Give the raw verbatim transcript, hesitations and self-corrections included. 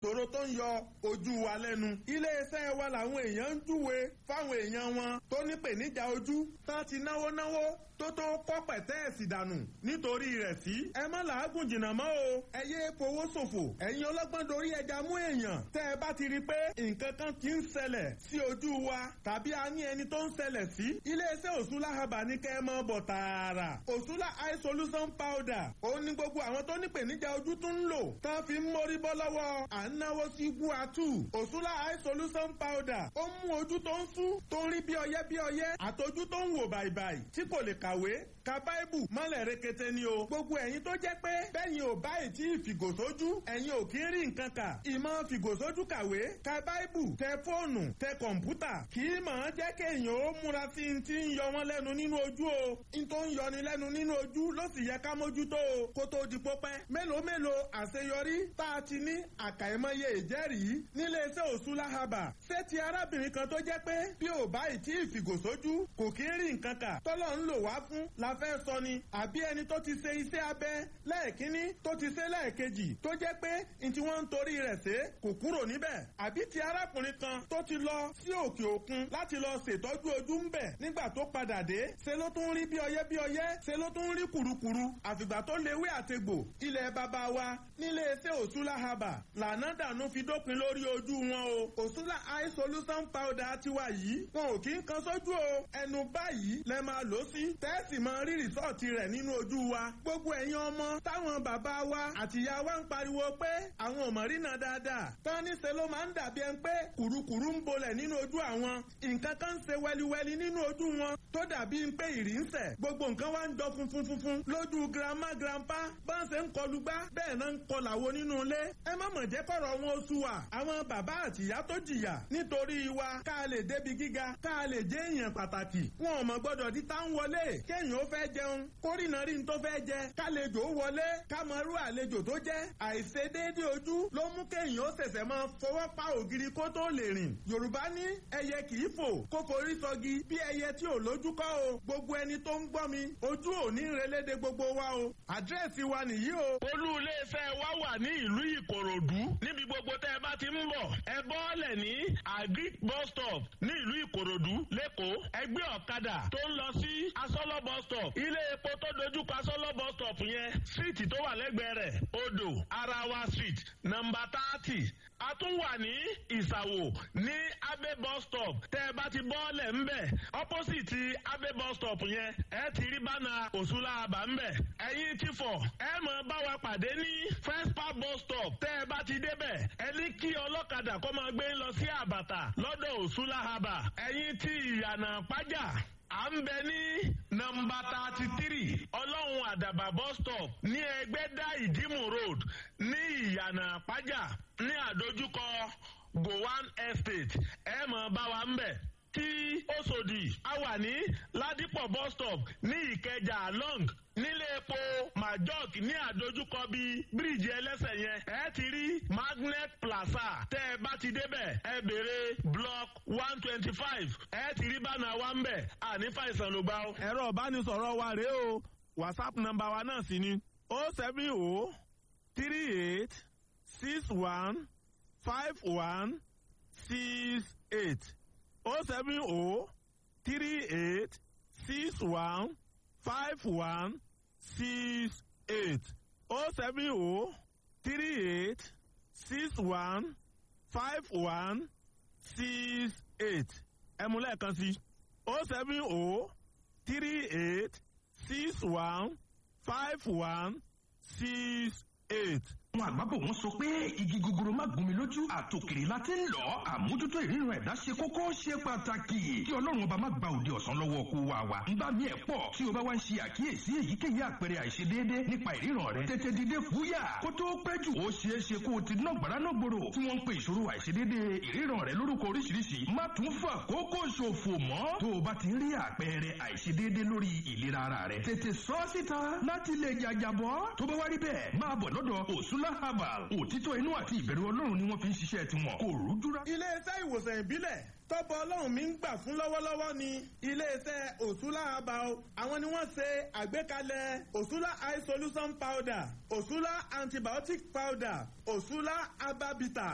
Tòró tó ń yọ ojú wa lẹ́nu. Iléeṣẹ́ wa làwọn èèyàn ń júwe fáwọn èèyàn wọn tó ní pèníjà ojú tán ti náwó náwó tó tó kọ́ pẹ̀tẹ́ẹ̀sì dànù nítorí rẹ̀ sí. Ẹ má làágùn jìnnà mọ́ o. Ẹ yé fowó ṣòfò. Ẹ̀yin ọlọ́gbọ́n dorí ẹja mú èèyàn. Tẹ́ ẹ bá ti rí i pé nǹkan kan ti ń ṣẹlẹ̀ sí ojú wa tàbí a ní ẹni tó ń ṣẹlẹ̀ sí. Iléeṣẹ́ Òṣùlá Herbal ní kẹ́ ẹ mọ́ bọ̀ tààrà. Òṣùlá Eye Solution Powder. Ó ní gbogbo àwọn tó ní pèníjà ojú tún ń lò. Tán fi ń mórí bọ́ lọ́wọ́ à ń náwó sí guatu. Òṣùlá Eye Solution Powder. Ó mú ojú tó ń sú tó ń rí bí ọyẹ́ bí ọyẹ́ àtọjú tó ń wò bàìbàì tí kò lè kàwé ka báìbù mọ́lẹ̀ rekete ni o. Gbogbo ẹ̀yin tó jẹ́ pé bẹ́yìn ò báyìí tí ìfìgòsójú ẹ̀yin ò kí ń rí nǹkan kà. Ìmọ̀ fìgòsójú kàwé ka báìbù tẹ fóònù tẹ kọ̀ǹpútà kì í mọ̀ ọ́n jẹ́ kéèyàn ó múra sí i ti ń yọ wọ́n lẹ́nu nínú ojú o. N tó ń yọni lẹ́nu nínú ojú ló sì yẹ ká mójútó o kó tó di pópẹ́. Mélòó mélòó àṣeyọrí tá a ti ní àkàìmọye ìjẹ́rìí níléeṣẹ́ Òṣùlá Herbal. Ṣé ti arábìnrin kan tó jẹ́ pé bí ò báyìí tí ìfìgòsójú kò kí ń rí nǹkan kà tọ́lọ́ ń lò wá fún la fẹ́ sọ ni àbí ẹni tó ti ṣe iṣẹ́ abẹ lẹ́ẹ̀kínní tó ti ṣe lẹ́ẹ̀kejì tó jẹ́ pé n tí wọ́n ń torí rẹ̀ ṣe kò kúrò níbẹ̀ àbí ti arákùnrin kan tó ti lọ sí òkè òkun láti lọ ṣètọ́jú ojú ń bẹ̀ nígbà tó padà dé ṣe ló tún rí bí ọyẹ́ bí ọyẹ́ ṣe ló tún rí kùrukùru àfìgbà tó lewé àtegbò ilẹ̀ bàbá wa nílé iṣẹ́ Òṣùlá Herbal lànà dànù fi dópin lórí ojú wọn o. Òṣùlá Eye Solution Powder tiwa yìí wọn ò kí ń kan sójú o, ẹnu báyìí lẹ máa lò sí tẹ́ẹ̀sì mọ rí rìsọ́ọ̀tì rẹ̀ nínú ojú wa. Gbogbo ẹ̀yin ọmọ táwọn bàbá wa àtìyá wa ń pariwo pé àwọn ò mọ̀ rínà dáadáa tán níṣe ló máa ń dàbí ẹni pé kùrukùru ń bolẹ̀ nínú ojú àwọn nǹkan kan ń ṣe wẹliwẹli nínú ojú wọn tó dàbí ń pé ìrì ń sẹ̀ gbogbo nǹkan wá ń jọ funfun funfun lójú grandma grandpa bá ń ṣe ń kọlu gbá bẹ́ẹ̀ náà ń kọlàwo nínú ilé. Ẹ má mọ̀ jẹ́ kọ̀rọ̀ wọn oṣù wa àwọn bàbá àtìyá tó jìyà nítorí wa ká lè débi gíga ká lè jẹ́ èèyàn pàtàkì wọn ò mọ̀ gbọ́dọ̀ di tá ń wọlé kéèyàn ó fẹ́ jẹun kórìnà rí n tó fẹ́ jẹ kálejò wọlé kámọ́rú àlejò tó jẹ́ àìṣedéédé ojú ló mú kéèyàn ó ṣẹ̀ṣẹ̀ máa fọwọ́ pa ògiri kó tó lè rìn. Yorùbá ní ẹyẹ kì í fò kó forí sọgi bí ẹyẹ tí ò lójú kọ́ o. Gbogbo ẹni tó ń gbọ́ mi ojú ò ní relédè gbogbo wa o. Àdírẹ́sì wa nìyí o. Olú iléeṣẹ́ wa wà ní ìlú Ìkòròdú níbi gbogbo tẹ́ ẹ bá ti ń bọ̀ ẹ bọ́ọ̀lẹ̀ ní Agric bus stop ní ìlú Ìkòròdú lẹ́kọ̀ọ́. Ẹgbẹ́ ọ̀kadà tó ń lọ sí Asọ́lọ́ bus stop ilé epo tó dojúkọ Asọ́lọ́ bus stop yẹn síìtì tó wà lẹ́gbẹ̀ẹ́ rẹ̀ odò Arawa street nọ́mbà thirty. A tún wà ní Ìsàwò ní Abe bus stop tẹ́ ẹ bá ti bọ́ọ̀lẹ̀ ńbẹ̀ opposite Abe bus stop yẹn ẹ ti rí bánà Òṣùlá Herbal ńbẹ̀. Ẹ̀yin ti fọ̀ ẹ mọ̀ bá wa pàdé ní First Park bus stop tẹ́ ẹ bá ti débẹ̀ ẹ ní kí ọlọ́kadà kó máa gbé lọ sí Àbàtà lọ́dọ̀ Òṣùlá Herbal. Ẹ̀yin ti Ìyànà Pájà à ń bẹ ní nọ́mbà thirty three Ọlọ́run Àdàbà bus stop ní Ẹgbẹ́dá Ìdímù road ní Ìyànà Pájà ní àdójúkọ Gowan Estate ẹ mọ̀ bá wa ń bẹ̀. Tí Òṣòdì a wà ní Ládìpọ̀ bus stop ní Ìkẹjà long nílé epo Majok ní àdójúkọ bíi bíríìjì ẹlẹ́sẹ̀ yẹn ẹ ti rí Magnet Plaza tẹ́ ẹ bá ti débẹ̀ ẹ béèrè block one twenty five ẹ ti rí bánà wa ń bẹ̀ àní fàìsàn ló gbà ó. Ẹ̀rọ ìbánisọ̀rọ̀ wa rèé o, WhatsApp nọ́mbà wa náà sì ni o seven o three eight six one five one six eight o seven o three eight six one five one six eight o seven o three eight six one five one six eight ẹ mú lẹ́ẹ̀kan sí o seven o three eight six one five one six eight. Àwọn àgbàbọ̀ wọn sọ pé igi gogoro má gún mi lójú àtòkèrè la ti ń lọ. Àmójútó ìríran ẹ̀dá ṣe kókó ṣe pàtàkì kí Ọlọ́run ọba má gba òde ọ̀sán lọ́wọ́ kó wa wa. Ń bá mi ẹ̀ pọ̀ tí o bá wá ń ṣe àkíyèsí èyíkéyìí àpẹẹrẹ àìṣedéédé nípa ìríran rẹ tètè dìde fúyà kó tó pẹ́ jù. Ó ṣeé ṣe kó o ti ná gbàrà náà gbòòrò tí wọ́n ń pe ìṣòro àìṣedéédé ìríran rẹ lórúkọ oríṣiríṣi. Má tún fà kókó ṣòfò mọ́. Tó o bá ti ń rí àpẹẹrẹ àìṣedéédé lórí ìlera ara rẹ tètè sọ síta láti lè jàjàbọ́. Tó bá wá rí bẹ́ẹ̀ máa bọ̀ lọ́dọ̀ Òṣùlá Herbal. Òtítọ́ inú àti ìbẹ̀rù Ọlọ́run ni wọ́n fi ń ṣiṣẹ́ tiwọn. Kò rújú rá. Iléeṣẹ́ ìwòsàn ìbílẹ̀ tọ́pọ̀ Ọlọ́run mi ń gbà fún lọ́wọ́lọ́wọ́ ni iléeṣẹ́ Òṣùlá Herbal. Àwọn ni wọ́n ṣe àgbékalẹ̀ Òṣùlá Eye Solution Powder, Òṣùlá Antibiotic Powder, Òṣùlá Herbal Bitter.